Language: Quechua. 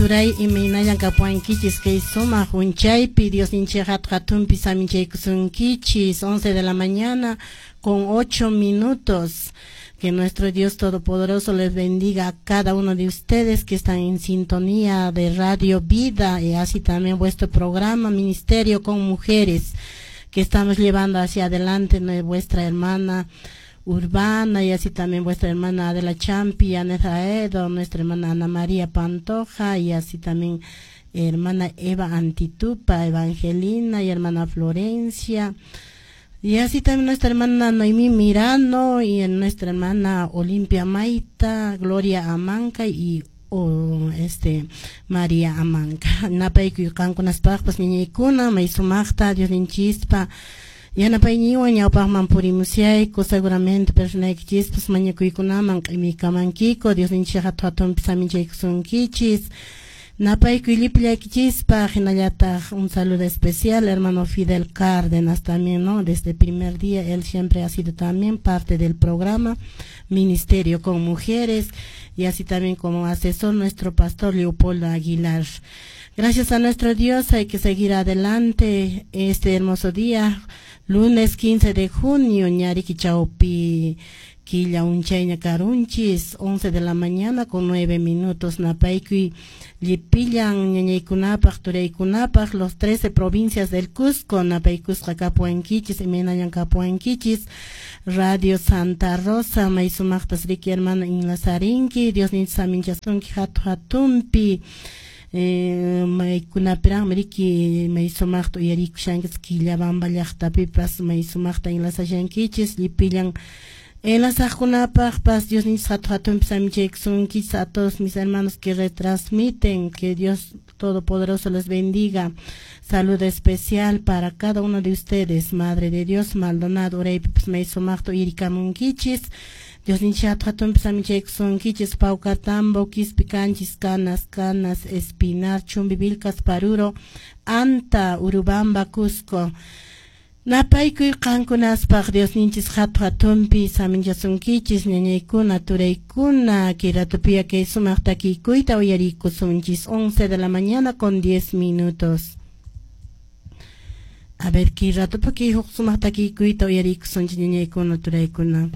Turay, imaynallan kapuwankichis kay sumaq unchaypi? Diosninchik hatu hatunpi saminchaykusunkichis. 11 de la mañana con 8 minutos. Que nuestro Dios Todopoderoso les bendiga a cada uno de ustedes que están en sintonía de Radio Vida y así también vuestro programa Ministerio con Mujeres, que estamos llevando hacia adelante vuestra hermana Urbana y así también vuestra hermana Adela Champi, Aneta Edo, nuestra hermana Ana María Pantoja y así también hermana Eva Antitupa, Evangelina y hermana Florencia. Y así también nuestra hermana Noemí Mirano y nuestra hermana Olimpia Maita, Gloria Amanca y María Amanca. Napaykuy qankunaspaqpas, ñañaykuna, may sumaqta Diosninchispa yanapayninwan ñawpaqman purimusyayku. Seguramente personaykichispas mañakuykunaman q'imiykamankiku. Diosninchik hatu hatunpi saminchaykusunkichis. Napaykuy llipillaykichispaq, hinallataq un saludo especial hermano Fidel Cárdenas también, ¿no? Desde el primer día él siempre ha sido también parte del programa Ministerio con Mujeres y así también como asesor nuestro pastor Leopoldo Aguilar. Gracias a nuestro Dios hay que seguir adelante este hermoso día, lunes 15 de junio, ñariki chawpi killa unchayña karunchis, 11 de la mañana con 9 minutos. Napaykuy llipillan ñañaykunapaq, turaykunapaq, los 13 provincias del Cusco, napaykusqa kapuwankichis, imaynallan kapuwankichis? Radio Santa Rosa, may sumaqtas riki, hermano, inlasarinki. Diosninchik saminchasunki hatu hatunpi. Maykunapiraqmi riki may sumaqta uyarikushankichis, Quillabamba llaqtapipas may sumaqta enlazashankichis. Llipillan enlazaqkunapaqpas Diosninchik hatu hatunpi saminchaykusunkichis. A todos mis hermanos que retransmiten, que Dios Todopoderoso les bendiga. Saludo especial para cada uno de ustedes. Madre de Dios Maldonado, uraypipas may sumaqta uyarikamunkichis. Diosninchik hatu hatunpi saminchaykusunkichis. Paucartambo, Quispicanchis, Canas, Canas, Espinar, Chumbivilcas, Paruro, Anta, Urubamba, Cusco. Napaykuy qankunaspaq. Diosninchis hatu hatunpi saminchasunkichis, ñañaykuna, turaykuna. Kay ratupiya kay sumaq takiykuyta uyarikusunchis. 11 de la mañana con 10 minutos. A ver, kay ratupa kay huk sumaq takiykuyta uyarikusunchis, ñañaykuna, turaykuna.